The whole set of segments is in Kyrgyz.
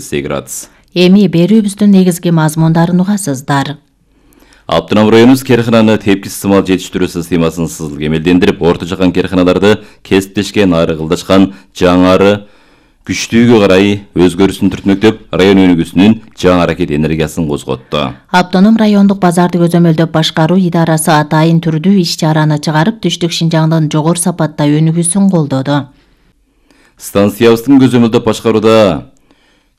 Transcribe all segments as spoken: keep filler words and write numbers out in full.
градус. Эми берүүбүздүн негизги мазмундарын угасыздар. Автоном районубуз керхананы тепки сымал жетиштирүү системасын сызыл кемелдендирип, орто жакан керханаларды кесиптешкен ары кылдашкан жаңары күчтүүгө карай өзгөрүшүн түртмөктөп, район өнүгүүсүнүн жаңы аракет энергиясын козготту. Автоном райондук базарды көзөмөлдөп башкаруу идарасы атайын түрдүү иш-чараны чыгарып, түштүк Шинжаңдын жогору сапатта өнүгүүсүн колдоду. Станциябыздын көзөмөлдөп башкарууда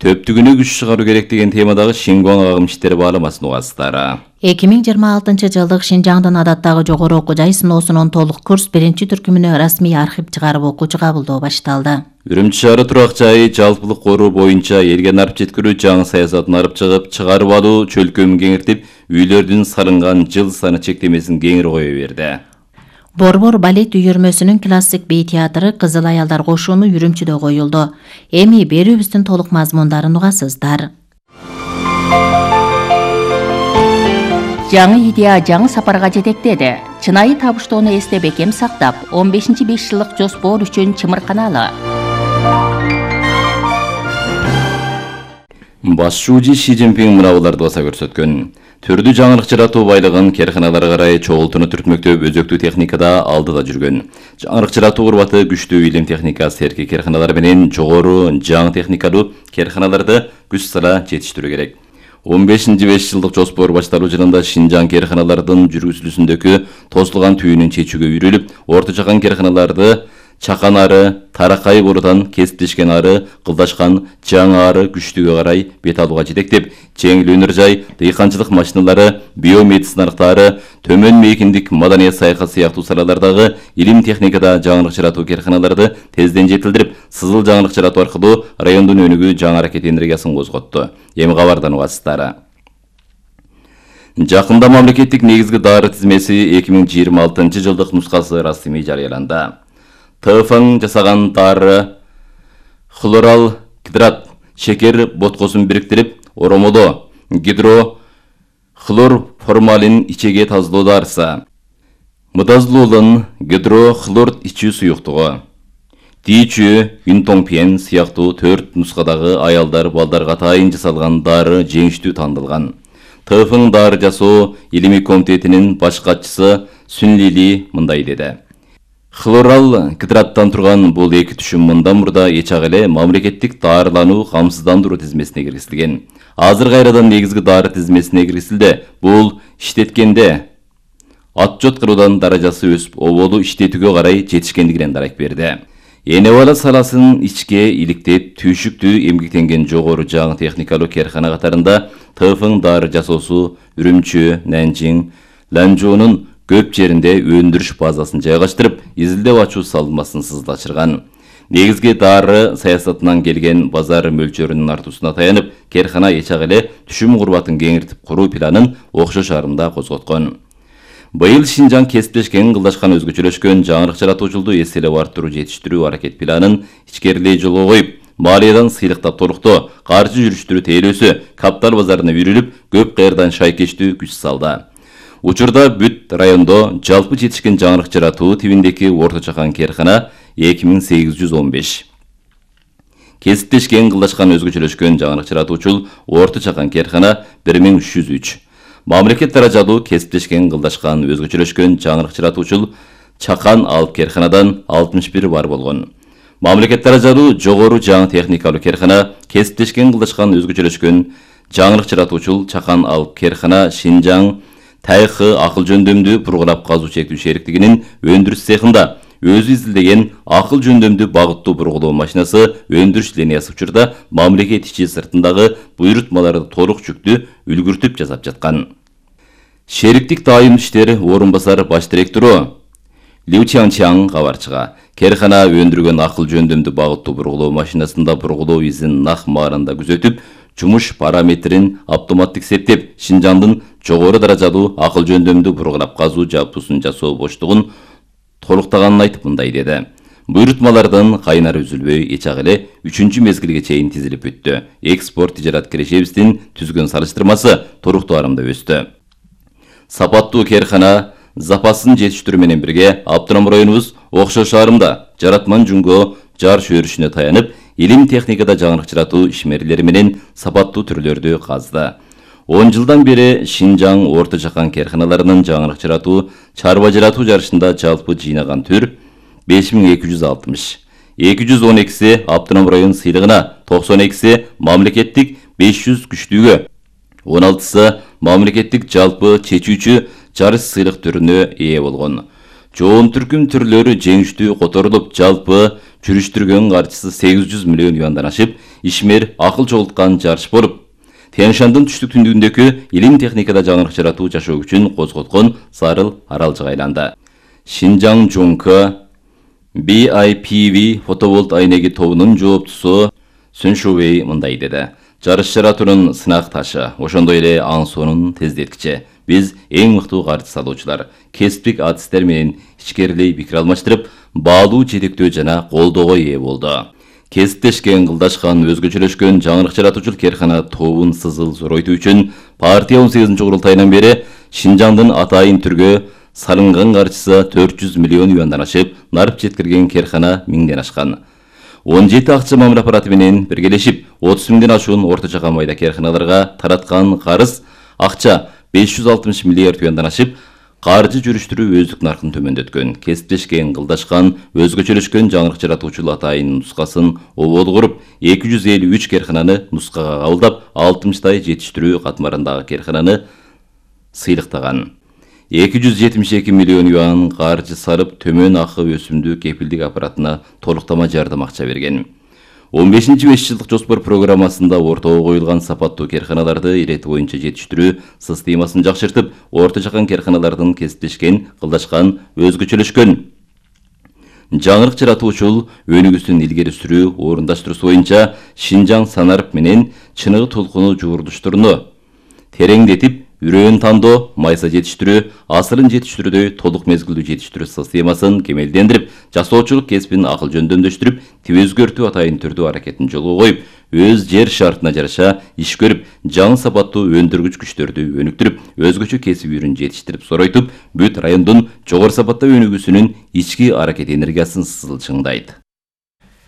төптүгүнө күч чыгаруу керек деген темадагы Шингуаң агым иштери бааламасын угасыздар. эки миң жыйырма алтынчы жылдык Шинжаңдын адаттагы жогору окуу жай сыноосунун толук курс биринчи түркүмүнө расмий архив чыгарып окуучу кабылдоо башталды. Үрүмчү шаары турак жайы жалпылык коруу боюнча элге нарып жеткирүү жаңы саясатын алып чыгып, чыгарып алуу чөлкөмүн кеңиртип, үйлөрдүн салынган жыл саны чектемесин кеңири кое берди. Борбор балет үйүрмөсүнүн классик бей театры Кызыл аялдар кошууну Үрүмчүдө коюлду. Эми берүүбүздүн толук мазмундарын угасыздар. Жаңы идея жаңы сапарга жетектеди. Чынайы табыштоону эсте бекем сактап, он бешинчи беш жылдык жоспор үчүн чымырканалы. Башчы Ши Цзиньпин мынабуларды баса көрсөткөн. Түрдүү жаңылык жаратуу байлыгын керханаларга карай чогултууну түртмөктөп, өзөктүү техникада алдыда жүргөн. Жаңылык жаратуу курбаты күчтүү илим техника серки керханалар менен жогору жаңы техникалуу керханаларды күч сала жетиштирүү керек. он бешинчи беш жылдык жоспор башталуу жылында Шинжаң керханалардын жүргүзүлүүсүндөгү тосулган түйүнүн чечүүгө үйрүлүп, орто жакан керханаларды чакан ары, таракай борудан кесиптешкен ары, кылдашкан жаңы ары күчтүүгө карай бет алууга жетектеп, жеңил өнөр жай, дыйканчылык машиналары, биомедициналыктары, төмөн мейкиндик маданият саякат сыяктуу салалардагы илим техникада жаңылык жаратуу керханаларды тезден жетилдирип, сызыл жаңылык жаратуу аркылуу райондун өнүгүү жаңы аракет энергиясын козготту. Эми кабардан угасыздар. Жакында мамлекеттик негизги дары тизмеси эки миң жыйырма алтынчы жылдык нускасы расмий жарыяланды. ТФң жасаган дары хлорал гидрат шекер боткосун бириктирип, оромодо гидро хлор формалин ичеге тазалоо дарысы. Мыдазлуулун гидро хлор ичүү суюктугу. Дичүү, Юнтоңпен сыяктуу төрт нускадагы аялдар балдарга атайын жасалган дары жеңиштүү тандалган. ТФң дары жасоо илимий комитетинин баш катчысы Сүнлили мындай деди. Хлорал гидраттан турган бул эки түшүм мындан мурда эчак эле мамлекеттик дарылануу камсыздандыруу тизмесине киргизилген. Азыр кайрадан негизги дары тизмесине киргизилди. Бул иштеткенде отчет кыруудан даражасы өсүп, оболу иштетүүгө карай жетишкендигинен дарак берди. Энебала саласын ичке иликтеп, түйшүктүү эмгектенген жогору жаңы техникалуу керхана катарында ТФң дары жасоосу Үрүмчү, Нанжиң, Ланчжоунун көп жеринде өндүрүш базасын жайгаштырып, изилдеп ачуу салынмасын сызлачырган. Негизги дары саясатынан келген базар мөлчөрүнүн артуусуна таянып, керхана эчак эле түшүм курбатын кеңиртип куруу планын окшош арымда козготкон. Быйыл Шинжаң кесиптешкен, кылдашкан, өзгөчөлөшкөн жаңылык жаратуучулду эселеп арттыруу жетиштирүү аракет планын ичкерилей жолго коюп, малиядан сыйлыктап толуктоо, каржы жүрүштүрүү тейлөөсү, капитал базарына үйрүлүп, көп кайрдан шайкештүү күч салды. Учурда бүт райондо жалпы жетишкен жаңылык жаратуу тибиндеки орто чакан керхана эки миң сегиз жүз он беш. Кесиптешкен, кылдашкан, өзгөчөлөшкөн жаңылык жаратуучул орто чакан керхана бир миң үч жүз үч. Мамлекет даражалуу кесиптешкен, кылдашкан, өзгөчөлөшкөн жаңылык жаратуучул чакан алып керханадан алтымыш бир бар болгон. Мамлекет даражалуу жогору жаңы техникалуу керхана, кесиптешкен, кылдашкан, өзгөчөлөшкөн жаңылык жаратуучул чакан алып керхана Шинжаң Тайхы акыл жөндөмдүү бургулап казуу чектүү шериктигинин өндүрүш цехинда өзү изилдеген акыл жөндөмдүү багыттуу бургулоо машинасы өндүрүш линиясы учурда мамлекет ичи сыртындагы буйрутмаларды толук жүктүү үлгүртүп жасап жаткан. Шериктик дайым иштер орун басар баш директору Лю Чаңчаң кабарчыга керхана өндүргөн акыл жөндөмдүү багыттуу бургулоо машинасында бургулоо изин нак маарында күзөтүп, жумуш параметрин автоматтык септеп, Шинжаңдын жогору даражалуу акыл жөндөмдүү бургулап казуу жапуусун жасоо боштугун толуктаганын айтып мындай деди. Буйрутмалардын кайнары үзүлбөй эчак эле үчүнчү мезгилге чейин тизилип бүттү. Экспорт тижарат кирешебиздин түзгөн салыштырмасы туруктуу арымда өстү. Сапаттуу керхана запасын жетиштирүү менен бирге автоном районубуз окшош арымда жаратман жөнгө жар шөрүшүнө таянып, илим техникада жаңырык жаратуу ишмерлери менен сапаттуу түрлөрдү казды. он жылдан бери Шинжаң Орто Жахан керканаларынын жаңырык жаратуу, чарба жаратуу жарышында жалпы жыйнаган түр беш миң эки жүз алтымыш. эки жүз он экиси автоном район сыйлыгына, токсон экиси мамлекеттик беш жүз күчтүүгө, он алтысы мамлекеттик жалпы чечүүчү жарыш сыйлык түрүнө ээ болгон. Жоон түркүм түрлөрү жеңиштүү которулуп, жалпы жүрүштүргөн каржысы сегиз жүз миллион юандан ашып, ишмер акыл чогулткан жарыш болуп, Тянь-Шандын түштүк түндүгүндөгү илим техникада жаңырык жаратуу жашоо үчүн козготкон зарыл аралжыга айланды. Шинжаң Жонка би ай пи ви фотоволт айнеги тобунун жооптусу Сүн Шубей мындай деди. Жарыш жаратуунун сынак ташы, ошондой эле аң сонун тездеткичи. Биз эң мыктуу каржы салуучулар, кесиптик адистер менен ичкерилей пикир алмаштырып, баалуу жетектөө жана колдоого ээ болду. Кесиптешкен, кылдашкан, өзгөчөлөшкөн жаңырык жаратуучул керкана тобун сызыл зоройтуу үчүн партия он сегизинчи курултайынан бери Шинжаңдын атайын түргө салынган каржысы төрт жүз миллион юандан ашып, нарып жеткирген керкана миңден ашкан. он жети акча мамыр аппараты менен биргелешип, отуз миңден ашуун Орто Жахан майда керканаларга тараткан карыз акча беш жүз алтымыш миллиард юандан ашып, каржы жүрүштүрүү өздүк наркын төмөндөткөн. Кесиптешкен, кылдашкан, өзгөчөлөшкөн жаңырык жаратуучул атайын нускасын обол куруп, эки жүз элүү үч керкананы нускага кабылдап, алтымыштай жетиштирүү катмарындагы керкананы сыйлыктаган. эки жүз жетимиш эки миллион юан каржы сарып, төмөн акы өсүмдүү кепилдик аппаратына толуктама жардам акча берген. он бешинчи беш жылдык жоспор программасында ортого коюлган сапаттуу керканаларды ирети боюнча жетиштирүү системасын жакшыртып, Орто Жахан керканалардын кесиптешкен, кылдашкан, өзгөчөлөшкөн жаңырык жаратуучул өнүгүүсүн илгери сүрүү, орундаштыруу боюнча Шинжаң Санарып менен чыныгы толкуну жуурдуштуруну тереңдетип, үрөөн тандоо, майса жетиштирүү, асырын жетиштирүүдөй толук мезгилдүү жетиштирүү системасын кемелдендирип, жасоочулук кесибин акыл жөндөмдөштүрүп, тип өзгөртүү атайын түрдүү аракетин жолго коюп, өз жер шартына жараша иш көрүп, жаңы сапаттуу өндүргүч күчтөрдү өнүктүрүп, өзгөчө кесип үрүн жетиштирип соройтуп, бүт райондун жогору сапаттуу өнүгүүсүнүн ички аракет энергиясын сызылчыңдайт.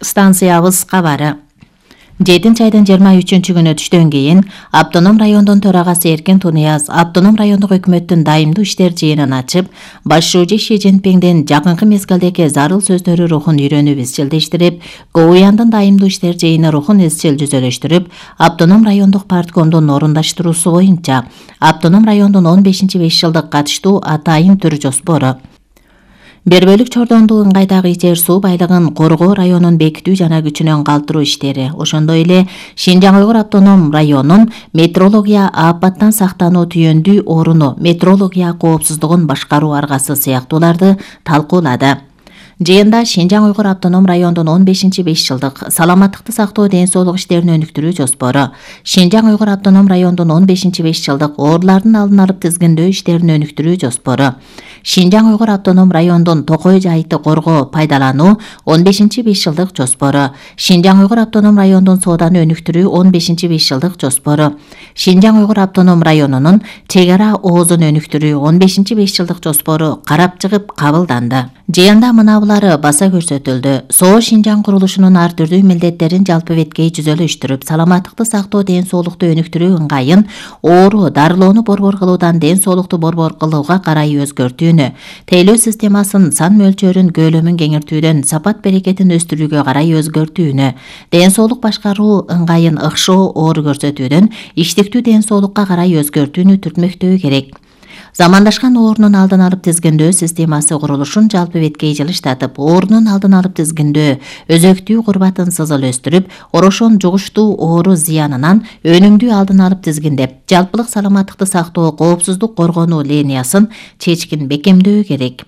Станциябыз кабары. жетинчи айдын жыйырма үчүнчү күнү түштөн кийин Автоном райондун төрагасы Эркен Тунияз Автоном райондук өкмөттүн дайымдуу иштер жыйынын ачып, башчы Ши Цзиньпиңдин жакынкы мезгилдеги зарыл сөздөрү рухун үйрөнүп изчилдештирип, Гоуяндын дайымдуу иштер жыйыны рухун изчил жүзөлөштүрүп, Автоном райондук парткомдун орундаштыруусу боюнча Автоном райондун он бешинчи беш жылдык катыштуу атайын түр жоспору, бир бөлүк чордондуу ыңгайдагы жер суу байлыгын коргоо районун бекитүү жана күчүнөн калтыруу иштери, ошондой эле Шинжаң Уйгур автоном районун метрология апаттан сактануу түйөндүү оруну, метрология коопсуздугун башкаруу аргасы сыяктууларды талкуулады. Жыйында Шинжаң Уйгур автоном райондун он бешинчи беш жылдык саламаттыкты сактоо ден соолук иштерин өнүктүрүү жоспору, Шинжаң Уйгур автоном райондун он бешинчи беш жылдык оорулардын алдын алып тизгиндөө иштерин өнүктүрүү жоспору, Шинжаң Уйгур автоном райондун Токой жайытты коргоо пайдалануу он бешинчи беш жылдык жоспору, Шинжаң Уйгур автоном райондун сооданы өнүктүрүү он бешинчи беш жылдык жоспору, Шинжаң Уйгур автоном районунун чек ара оозун өнүктүрүү он бешинчи беш жылдык жоспору карап чыгып кабылданды. Жыйында мынабулары баса көрсөтүлдү. СОО Шинжаң курулушунун ар түрдүү милдеттерин жалпы беткей жүзөлөштүрүп, саламаттыкты сактоо ден соолукту өнүктүрүү ыңгайын оору дарылоону борбор кылуудан ден соолукту борбор кылууга карай өзгөртүүнү, тейлөө системасын сан мөлчөрүн көлөмүн кеңиртүүдөн сапат берекетин өстүрүүгө карай өзгөртүүнү, ден соолук башкаруу ыңгайын ыкшоо оору көрсөтүүдөн иштиктүү ден соолукка карай өзгөртүүнү түртмөктөө керек. Замандашкан оорунун алдын алып тизгиндөө системасы курулушун жалпы беткей жылыштатып, оорунун алдын алып тизгиндөө, өзөктүү курбатын сызыл өстүрүп, орошон жугуштуу оору зыянынан өнүмдүү алдын алып тизгиндеп, жалпылык саламаттыкты сактоо, коопсуздук коргонуу линиясын чечкин бекемдөө керек.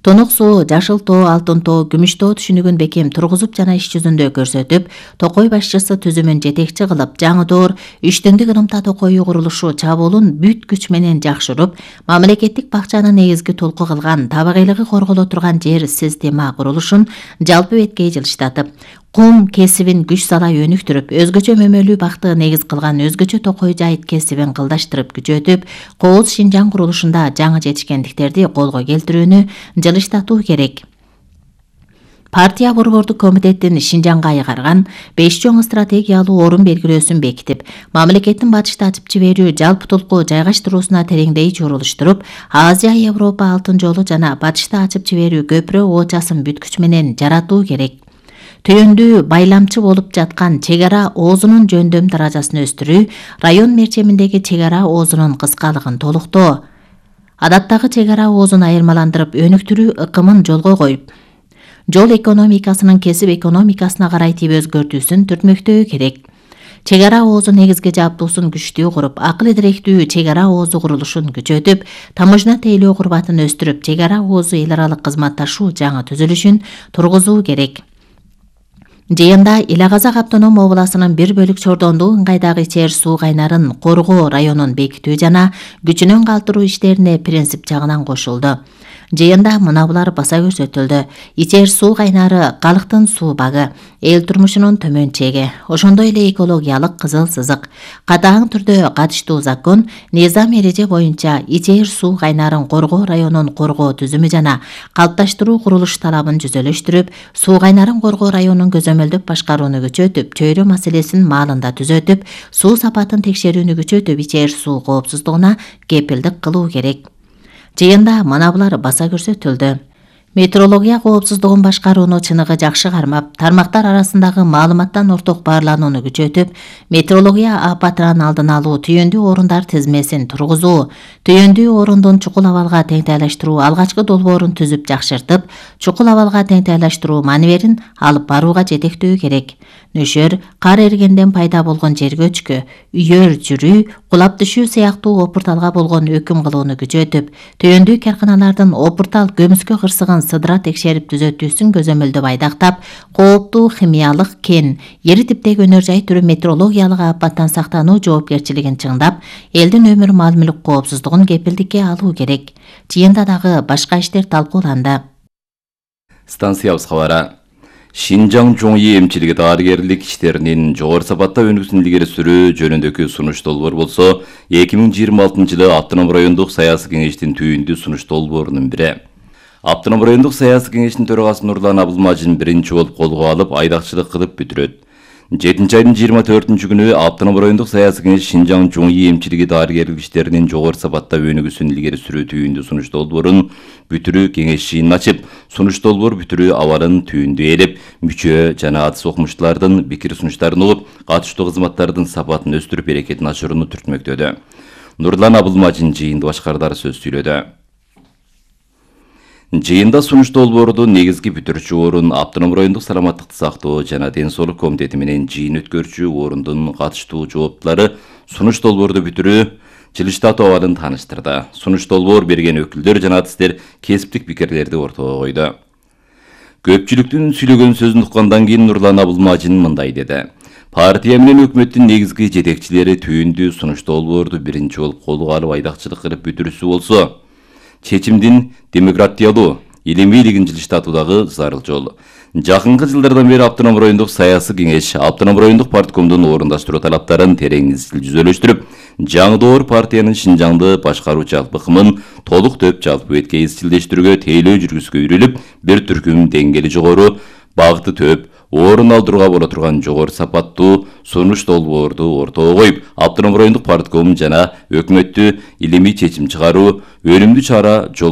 Тонук суу, жашыл тоо, алтын тоо, күмүш тоо түшүнүгүн бекем тургузуп жана иш жүзүндө көрсөтүп, Токой башчысы түзүмүн жетекчи кылып, жаңы-доор үчтөндүк ырымта Токою курулушу чабуулун бүт күч менен жакшырып, мамлекеттик бакчаны негизги толку кылган, табигыйлыгы корголо турган жер система курулушун жалпы беткей жылыштатып, кум кесибин күч сала өнүктүрүп, өзгөчө мөмөлүү бакты негиз кылган өзгөчө Токой жайыт кесибин кылдаштырып күчөтүп, Кооз Шинжаң курулушунда жаңы жетишкендиктерди колго келтирүүнү жылыштатуу керек. Партия борбордук комитеттин Шинжаңга айгарган беш чоң стратегиялуу орун белгилөөсүн бекитип, мамлекеттин батышты ачып жиберүү жалпытулкуу жайгаштыруусуна тереңдей чорулуштуруп, Азия, Европа алтын жолу жана батышты ачып жиберүү көпүрө оочасын бүткүч менен жаратуу керек. Түйөндүү байламчы болуп жаткан чек ара оозунун жөндөм даражасын өстүрүү, район мерчеминдеги чек ара оозунун кыскалыгын толуктоо, адаттагы чек ара оозун айырмаландырып өнүктүрүү ыкымын жолго коюп, жол экономикасынын кесип экономикасына карай тийип өзгөртүүсүн түртмөктөө керек. Чек ара оозу негизги жаптуусун күчтүү куруп, акыл идиректүү чек ара оозу курулушун күчөтүп, таможня тейлөө курбатын өстүрүп, чек ара оозу эл аралык кызматташуу жаңы түзүлүшүн тургузуу керек. Жыйында Ила Казак автоном областынын бир бөлүк чордондуу ыңгайдагы ичер суу кайнарын коргоо районун бекитүү жана күчүнөн калтыруу иштерине принцип жагынан кошулду. Жыйында мына булар баса көрсөтүлдү. Ичер суу кайнары калктын суу багы, эл турмушунун төмөн чеги, ошондой эле экологиялык кызыл сызык. Катаң түрдө катыштуу закон низам эреже боюнча ичер суу кайнарын коргоо районун коргоо түзүмү жана калыпташтыруу курулуш талабын жүзөлөштүрүп, суу кайнарын коргоо районун көзөмөлдүк башкарууну күчөтүп, чөйрө маселесин маалында түзөтүп, суу сапатын текшерүүнү күчөтүп, ичер суу коопсуздугуна кепилдик кылуу керек. Жыйында мына булар баса көрсөтүлдү. Метеорология коопсуздугун башкарууну чыныгы жакшы кармап, тармактар арасындагы маалыматтан орток баарланууну күчөтүп, метеорология апатынан алдын алуу түйөндүү орундар тизмесин тургузуу, түйөндүү орундун чукул абалга теңтайлаштыруу алгачкы долбоорун түзүп жакшыртып, чукул абалга теңтайлаштыруу маневерин алып барууга жетектөө керек. Нөшөр, кар эригенден пайда болгон жер көчкү, үйөр жүрүү, кулап түшүү сыяктуу опурталга болгон өкүм кылууну күчөтүп, түйөндүү карканалардын опуртал көмүскө кырсыгын сыдыра текшерип түзөтүүсүн көзөмөлдөп айдактап, кооптуу химиялык кен, эри типтеги өнөр жай түрү метеорологиялык апаттан сактануу жоопкерчилигин чыңдап, элдин өмүр мал мүлк коопсуздугун кепилдикке алуу керек. Жыйында дагы башка иштер талкууланды. Станциябыз кабары. Шинжаң Жоңи эмчилиги дарыгерлик иштеринин жогору сапатта өнүгүүсүн илгери сүрүү жөнүндөгү сунуш долбоор болсо, эки миң жыйырма алтынчы жылы автоном райондук саясий кеңештин түйүндүү сунуш долбоорунун бири. Автоном райондук саясий кеңештин төрагасы Нурлан Абылмажин биринчи болуп колго алып, айдакчылык кылып бүтүрөт. жетинчи айдын жыйырма төртүнчү күнү автоном райондук саясий кеңеш Шинжаң Жоңи эмчилиги дарыгерлик иштеринин жогору сапатта өнүгүүсүн илгери сүрүү түйүндүү сунуш долбоорун бүтүрүү кеңешчиин ачып, сунуш долбоор бүтүрүү абалын түйүндүү ээлеп, мүчө жана атыс окумуштуулардын пикир сунуштарын угуп, катыштуу кызматтардын сапатын өстүрүп берекетин ачырууну түртмөктөдү. Нурлан Абылмажин жыйынды башкардар сөз сүйлөдү. Жыйында сунуш долбоордун негизги бүтүрүүчү орун автоном райондук саламаттыкты сактоо жана ден соолук комитети менен жыйын өткөрүүчү орундун катыштуу жооптулары сунуш долбоорду бүтүрүү жылыштатуу абалын тааныштырды. Сунуш долбоор берген өкүлдөр жана артисттер кесиптик пикирлерди ортого койду. Көпчүлүктүн сүйлөгөн сөзүн уккандан кийин Нурлан Абылмажин мындай деди. Партия менен өкмөттүн негизги жетекчилери түйүндүү сунуш долбоорду биринчи болуп колго алып айдакчылык кылып бүтүрүүсү болсо, чечимдин демократиялуу, илимийлигин жылыштатуудагы зарыл жол. Жакынкы жылдардан бери автоном райондук саясий кеңеш автоном райондук парткомдун орундаштыруу талаптарын терең изил жүзөлөштүрүп, жаңдоор партиянын Шинжаңды башкаруу жалпы ыкмын толук төп жалпы бетке изчилдештирүүгө тейлөө жүргүзгө үйрүлүп, бир түркүм деңгээли жогору, багыты төп, орун алдырууга боло турган жогору сапаттуу сунуш долбоорду ортого коюп, автоном райондук партком жана өкмөттү илимий чечим чыгаруу, өнүмдүү чара жол